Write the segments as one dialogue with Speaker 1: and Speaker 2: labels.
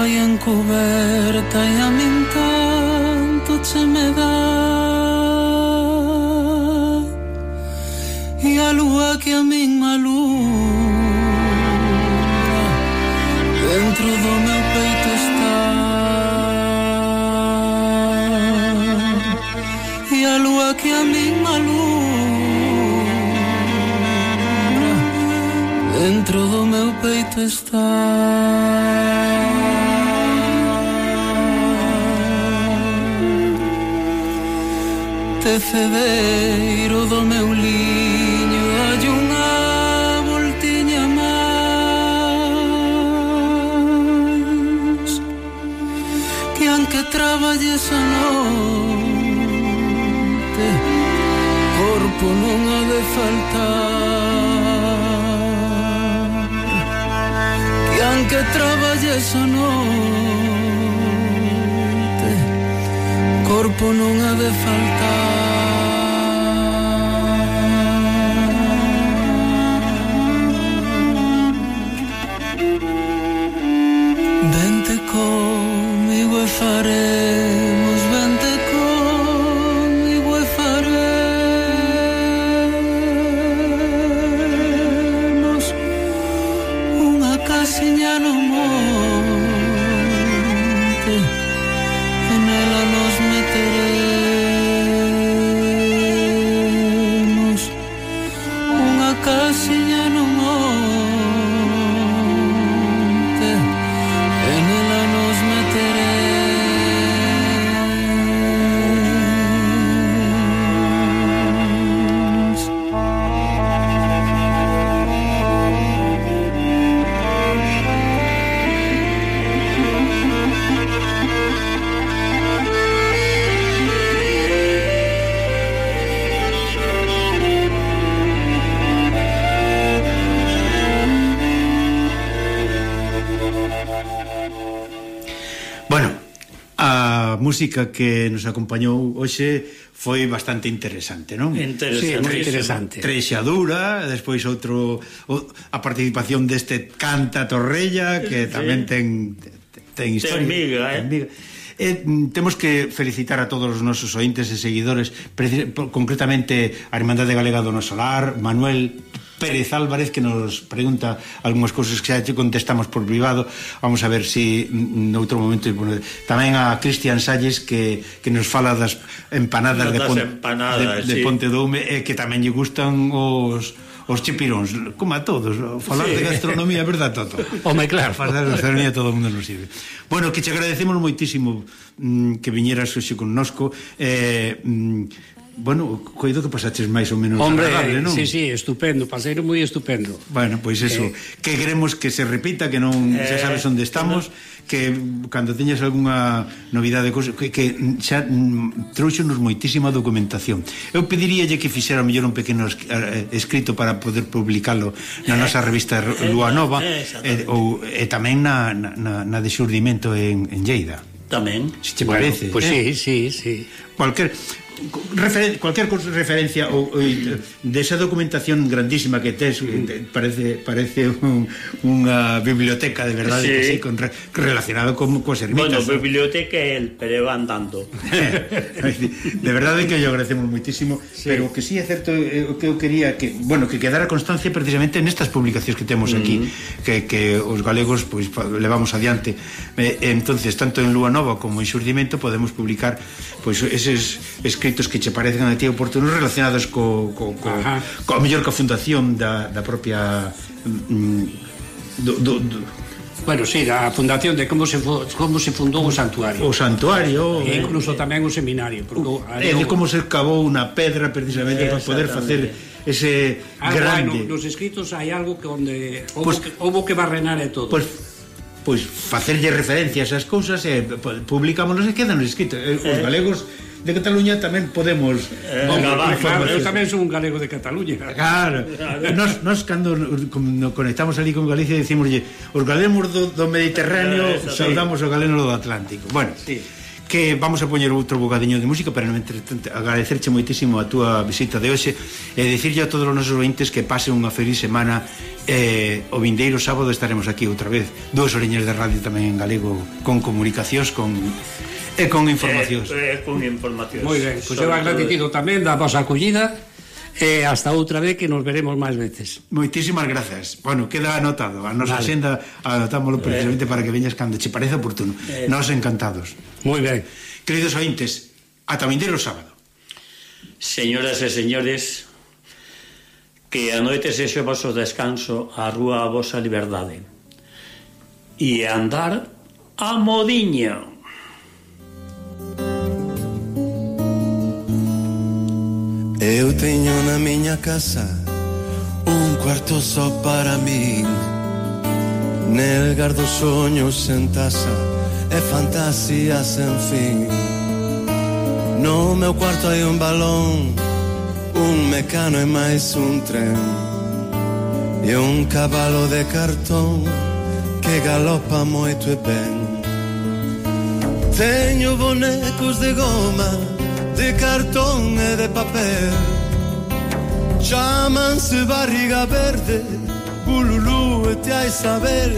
Speaker 1: vai encuberta e a min tanto che me dá, e a lúa que a min alumbra dentro do meu peito está, e a lúa que a min alumbra dentro do meu peito está. Tecedeiro do meu liño, hai unha voltiña máis, que aunque traballes a noite, corpo non ha de faltar, que aunque traballes a noite, corpo non ha de faltar. Vente comigo e faremos, vente comigo e faremos unha casiña no monte, e nela nos meteremos, unha casiña no monte, e nela nos meteremos.
Speaker 2: Bueno, a música que nos acompañou hoxe foi bastante interesante, non?
Speaker 3: Sí, moi interesante.
Speaker 2: Trexadura, despois a participación deste Canta Torrella, que tamén ten historia.
Speaker 3: Ten miga,
Speaker 2: Temos que felicitar a todos os nosos ointes e seguidores, concretamente a Irmandade Galega do Noso Lar, Manuel Pérez Álvarez, que nos pregunta algunhas cousas que xa te contestamos por privado. Vamos a ver se noutro momento. Tamén a Cristian Salles, que nos fala das empanadas de Ponte Doume, e que tamén lle gustan os chipiróns, como a todos. Falar de gastronomía, verdad, Toto?
Speaker 3: Home, claro.
Speaker 2: Falar de gastronomía todo o mundo nos sirve. Bueno, que te agradecemos moitísimo que viñeras hoxe connosco. Bueno, coido que pasaches máis ou menos agradable, non?
Speaker 3: Sí, estupendo, paseiro moi estupendo.
Speaker 2: Bueno, pois eso, que queremos que se repita, que non xa sabes onde estamos, que cando teñas algunha novidade, que xa trouxonos moitísima documentación. Eu pediríalle que fixera mellor un pequeno escrito para poder publicalo na nosa revista Lúa Nova, e tamén na de Xurdimento en Lleida.
Speaker 3: Tamén.
Speaker 2: Se te parece?
Speaker 3: Pois sí.
Speaker 2: Cualquier referencia de esa documentación grandísima que tes, parece unha biblioteca de verdade, sí. Relacionado coas ermitas.
Speaker 4: Bueno, biblioteca é el, pero van tanto.
Speaker 2: De verdade que yo agradecemos moitísimo, sí. Pero que sí é certo, que eu quería que quedara constancia precisamente nestas publicacións que temos aquí, que os galegos pois levamos adiante. Entonces, tanto en Lúa Nova como en Xurdimento podemos publicar pois eses escritos que che parecen a ti oportunos relacionados co mellor ca fundación da propia
Speaker 3: Bueno, sí, a fundación de como se fundou o santuario.
Speaker 2: O santuario,
Speaker 3: e incluso tamén o seminario,
Speaker 2: de como se cavou unha pedra precisamente para poder facer ese grande.
Speaker 3: Nos escritos hai algo que onde houbo que barrenar e todo.
Speaker 2: Pois facerlle referencia a esas cousas e publicámonos e quedan escritos. Os galegos de Cataluña tamén podemos
Speaker 3: claro, eu tamén son un galego de Cataluña.
Speaker 2: Claro. Nos cando conectamos ali con Galicia decimoslle os galegos do Mediterráneo saudamos os galegos do Atlántico. Bueno, sí. que vamos a poñer outro bocadiño de música, pero agradecerche moitísimo a túa visita de hoxe e dicirlle a todos os nosos ointes que pasen unha feliz semana. O vindeiro sábado estaremos aquí outra vez, 2 horiñas de radio tamén en galego, con comunicacións, con informacións.
Speaker 4: Con informacións.
Speaker 3: Moi ben, pois eu agradecido tamén da vosa acollida e hasta outra vez que nos veremos máis veces.
Speaker 2: Moitísimas grazas. Bueno, queda anotado. A nosa xenda anotámoslo precisamente para que veñas cando che parece oportuno. Nos encantados.
Speaker 3: Moi ben.
Speaker 2: Queridos ointes, ata o vindeiro sábado.
Speaker 4: Señoras e señores, que a noite sexe o vosso descanso, a rúa a vosa liberdade. E andar a modiño.
Speaker 5: Eu teño na miña casa un cuarto só para min. Nel gardo soños en taza e fantasías sen fin. No meu cuarto hai un balón, un mecano e máis un tren, e un cabalo de cartón que galopa moito e ben. Teño bonecos de goma, de cartón e de papel, chámanse barriga verde, bululú e te hai saber.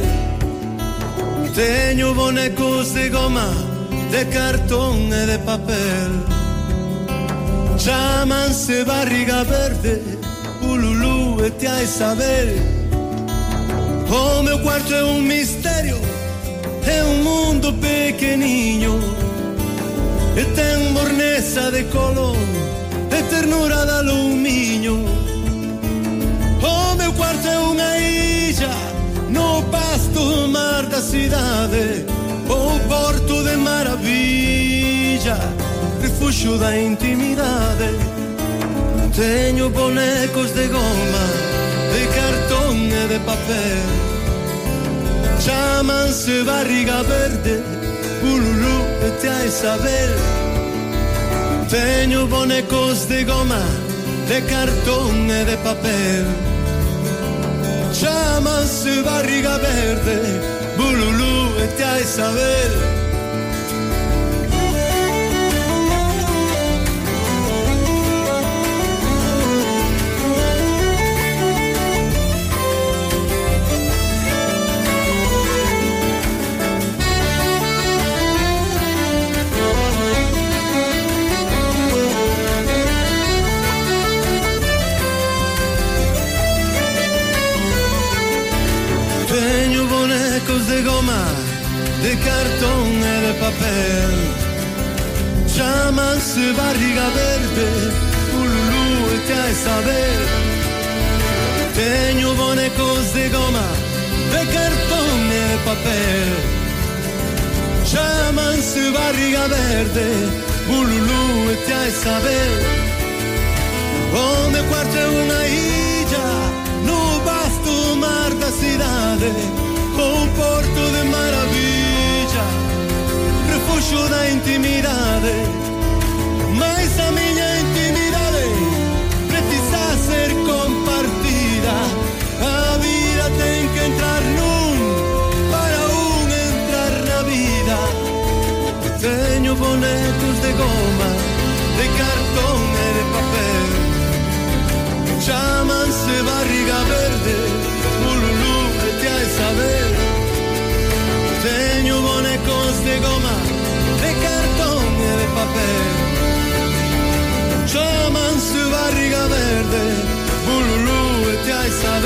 Speaker 5: Teño bonecos de goma, de cartón e de papel, chámanse barriga verde, bululú e te hai saber. O meu cuarto é un misterio, é un mundo pequeniño, e ten morneza de color, e ternura de alumiño. O meu cuarto é unha illa no pasto mar da cidade, o porto de maravilla, refuxo da intimidade. Teño bonecos de goma, de cartón e de papel, chámanse barriga verde, bululú e te hai saber. Teño bonecos de goma, de cartón e de papel, chámanse barriga verde, bululú e te hai saber. De goma, de cartón e de papel, chámanse barriga verde, bululú e te hai saber. Teño bonecos de goma, de cartón e de papel, chámanse barriga verde, bululú e te hai saber. O meu cuarto é unha illa no vasto mar da cidade, un porto de maravilla, refuxo da intimidade. Mais a miña intimidade precisa ser compartida. A vida ten que entrar nun para un entrar na vida. Teño bonecos de goma, de cartón e de papel, chámanse barriga verde, bululú e te hai saber. Teño bonecos de goma, de cartón e de papel, chámanse barriga verde, bululú e te hai saber.